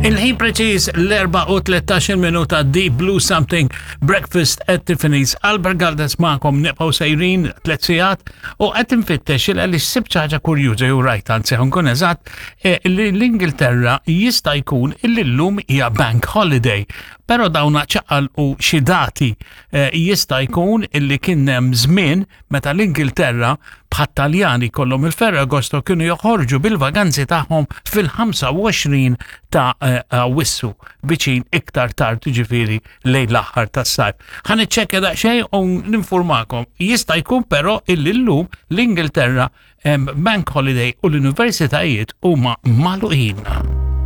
Il-ħin preċiż l-4 u 13 minuta Deep Blue Something Breakfast at Tiffany's. Albert Galdes magħkom nibqgħu sejrin tliet sigħat u qed infittex il għaliex sibt xi ħaġa kurjuża jew rajt anzi ħankun eżatt eh, li l-Ingilterra jista' jkun illi llum hija bank holiday. Però dawna ċaqalqu xi dati eh, jista' jkun illi kien hemm żmien meta l-Ingilterra bħat-Taljani kollhom il-Ferragosto kienu joħorġu bil-vaganzi tagħhom fil-25 ta' eh, Awwissu viċin iktar tard ġifieri lejn l-aħħar tas-sajf. Ħa niċċekkja daqsxejn u ninformakom. Jista' jkun però illi llum l-Ingilterra hemm bank holiday u l-universitajiet huma magħluqin.